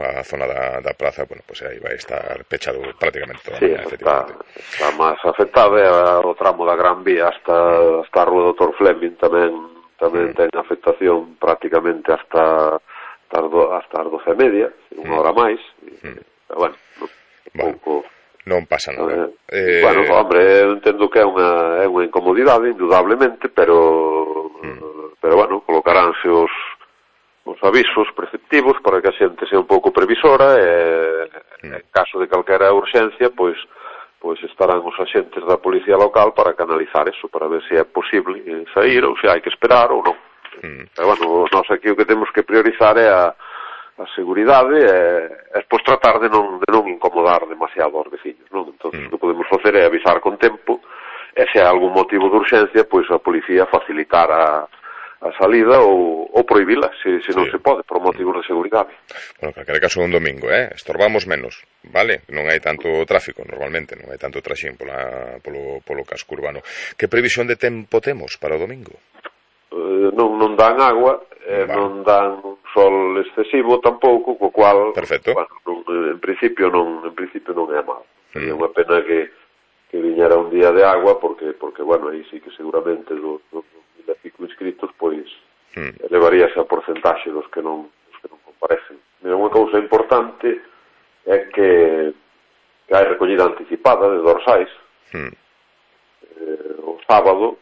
para a zona da praza, bueno, pues aí vai estar pechado prácticamente toda a Sí, mañá, efectivamente. está máis afectado, o tramo da Gran Vía hasta a Rúa Dr. Fleming tamén ten afectación prácticamente hasta as 12:30, unha hora máis, pero bueno, pouco... Non pasa nada. Bueno, hombre, eu entendo que é unha incomodidade, indudablemente, pero bueno, colocaránse os avisos preceptivos para que a xente sea un pouco previsora e en caso de calquera urxencia, pois estarán os axentes da policía local para canalizar eso, para ver se é posible sair ou se hai que esperar ou non. Pero bueno, nós aquí o que temos que priorizar é a seguridade e despois tratar de non incomodar demasiado aos veciños, non? Entón, o que podemos facer é avisar con tempo e se hai algún motivo de urxencia, pois a policía facilitar a salida ou prohibila, se non se pode, por motivos de seguridade. Bueno, en calquera caso un domingo, estorbamos menos, vale? Non hai tanto tráfico, normalmente, non hai tanto traxín polo casco urbano. Que previsión de tempo temos para o domingo? Non dan agua, non dan sol excesivo tampouco, co cual, perfecto. Bueno, en principio non é mal. É unha pena que viñera un día de agua, porque bueno, aí sí que seguramente dos 1000 e pico inscritos, pois elevaría esa porcentaxe dos que non comparecen. Mira, unha cousa importante é que hai recollida anticipada de dorsais o sábado,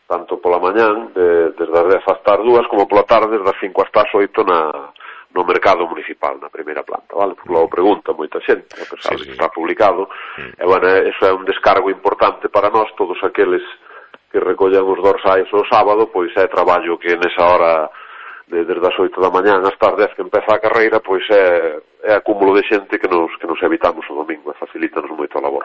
tanto pola mañán, desde as 10 hasta as 2, como pola tarde, desde as 5 hasta as 8 no mercado municipal, na primeira planta, vale? Porque logo pregunta moita xente, a pesar de que está publicado, e, bueno, eso é un descargo importante para nós, todos aqueles que recollen os dorsais o sábado, pois é traballo que nesa hora, desde as 8 da mañán hasta as 10 que empeza a carreira, pois é acúmulo de xente que nos evitamos o domingo, e facilítanos moito a labor.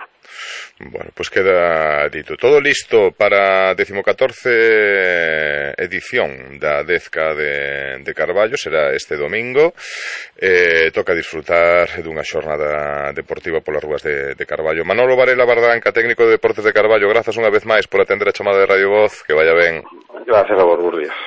Bueno, pues queda dito. Todo listo para a 14ª edición da Dezca de Carballo, será este domingo. Toca disfrutar dunha xornada deportiva polas rúas de Carballo. Manolo Varela Bardanca, técnico de Deportes de Carballo, grazas unha vez máis por atender a chamada de Radio Voz, que vaya ben. Gracias a vos, bons días.